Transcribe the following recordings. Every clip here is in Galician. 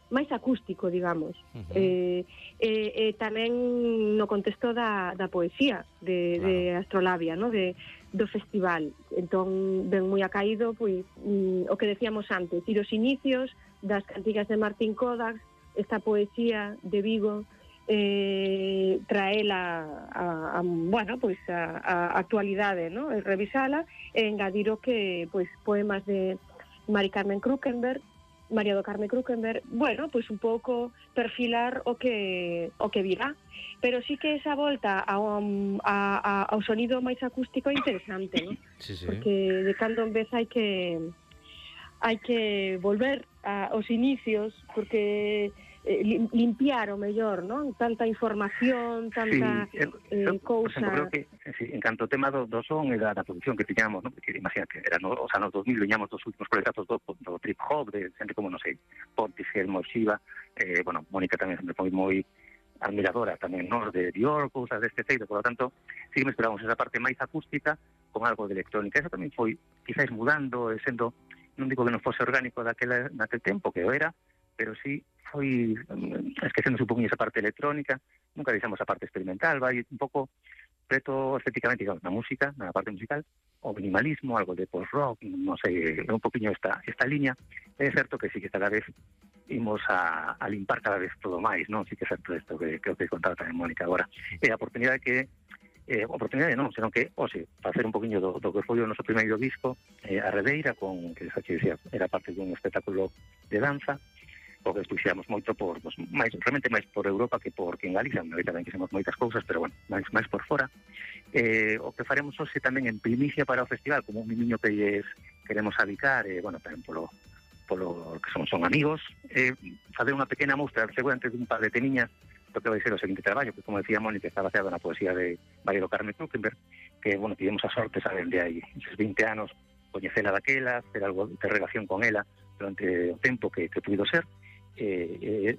máis acústico, digamos. Tamén no contexto da poesía de Astrolabia, no? Do festival. Entón, ben moi acaído, pois, o que decíamos antes, ir os inicios das cantigas de Martín Kodax, esta poesía de Vigo, traela bueno, pois a actualidade, no? Revisala e engadir o que, pois, poemas de Mari Carmen Krukenberg, María do Carme Krukenberg, bueno, pois un pouco perfilar o que virá, pero sí que esa volta ao sonido máis acústico é interesante, ¿no? Sí. Porque de cando en vez hai que volver aos inicios, porque limpiar o mellor, non? Tanta información, tanta cousa. Creo que, en canto ao tema do son e da produción que tiñamos, non? Porque imagínate, era os anos 2000, viñamos dos últimos proyectos do trip hop, de xente como, non sei, Portishead, Shiva, bueno, Mónica tamén sempre foi moi admiradora tamén, non? De Dior, cousas deste feito, por lo tanto, sí que me esperamos esa parte máis acústica con algo de electrónica. Eso tamén foi, quizás mudando, sendo, non digo que non fose orgánico naquele tempo, que o era, pero sí foi esquecendo un pouco esa parte electrónica, nunca deixamos a parte experimental, vai un pouco preto estéticamente, digamos, na música, na parte musical, o minimalismo, algo de post-rock, non sei, un poquinho esta liña. É certo que sí que cada vez imos a limpar cada vez todo máis, non? Sí que é certo isto que creo que contaba tamén Mónica agora. E a oportunidade que oportunidade non, senón que, facer un poquinho do que foi o noso primeiro disco, a Redeira, que xa que decía, era parte dun espectáculo de danza, o que expuxamos moito realmente máis por Europa que en Galicia, en Galicia tamén quixemos moitas cousas, pero bueno, máis por fora. O que faremos hoxe tamén en primicia para o festival, como un mimiño que queremos adicar, bueno, tamén polo que son amigos, facer unha pequena mostra, seguramente dun par de temiñas, do que vai ser o seguinte traballo, que como decía Mónica, está baseado na poesía de María do Carme Krukenberg, que, bueno, tivemos a sorte, saben, de aí, esos 20 anos, coñecela daquela, ter algo de relación con ela durante o tempo que puido ser.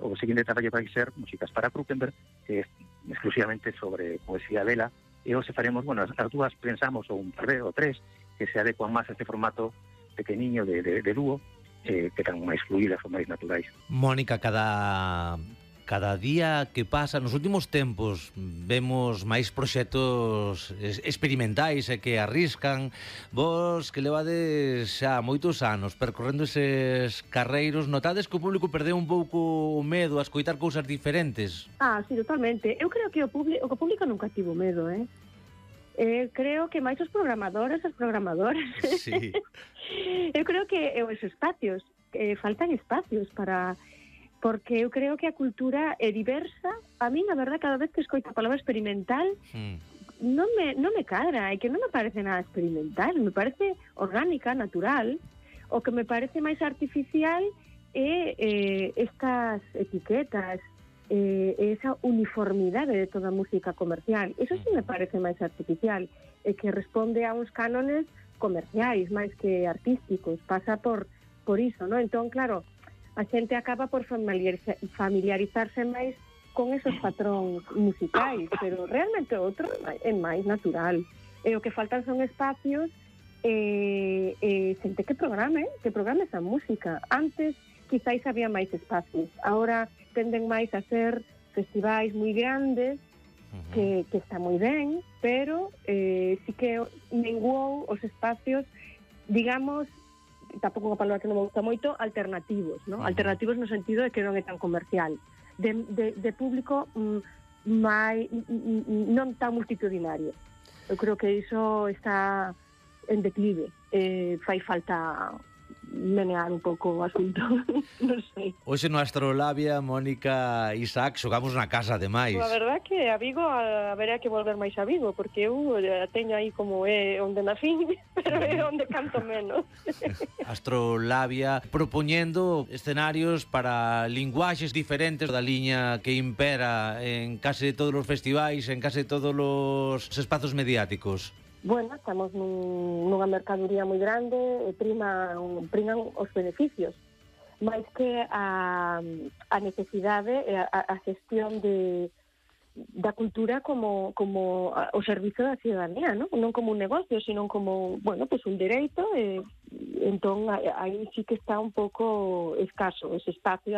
O seguinte traballo vai ser Músicas para Krukenberg, que é exclusivamente sobre poesía dela, e hoxe faremos, bueno, as dúas pensamos, ou un par ou tres, que se adecuan máis a este formato pequeniño de dúo, que tan máis fluídas ou máis naturais. Mónica, cada día que pasa, nos últimos tempos vemos máis proxectos experimentais e que arriscan. Vos que levades xa moitos anos percorrendo eses carreiros, notades que o público perdeu un pouco o medo a escoitar cousas diferentes? Sí, totalmente. Eu creo que o público nunca tivo medo, creo que máis os programadores, as programadoras. Sí. Eu creo que os espacios, faltan espacios porque eu creo que a cultura é diversa. A min, a verdade, cada vez que escoito a palabra experimental, non me cadra, é que non me parece nada experimental, me parece orgánica, natural. O que me parece máis artificial é estas etiquetas, esa uniformidade de toda a música comercial. Eso sí me parece máis artificial, é que responde a uns cánones comerciais máis que artísticos, pasa por iso, non? Entón, claro, a xente acaba por familiarizarse máis con esos patróns musicais, pero realmente outro é máis natural. E o que faltan son espacios xente que programe esa música. Antes, quizáis había máis espacios. Ahora tenden máis a ser festivais moi grandes, que está moi ben, pero sí que menguou os espacios, digamos, tampouco unha palabra que non me gusta moito, alternativos, ¿no? Alternativos no sentido de que non é tan comercial, de público non tan multitudinario. Eu creo que iso está en declive, fai falta menear un pouco o asunto. Non sei. Hoxe no Astrolabia, Mónica, Isaac, xogamos na casa, ademais. A verdade que a Vigo haberá que volver máis a Vigo, porque eu teño aí como é onde nacín, pero é onde canto menos. Astrolabia, propoñendo escenarios para linguaxes diferentes da liña que impera en case todos os festivais, en case todos os espazos mediáticos. Bueno, estamos nunha mercadoría moi grande e priman os beneficios, máis que a necesidade e a gestión da cultura como o servizo da ciudadanía, non como un negocio, sino como, bueno, pues un dereito, entón aí sí que está un pouco escaso ese espacio.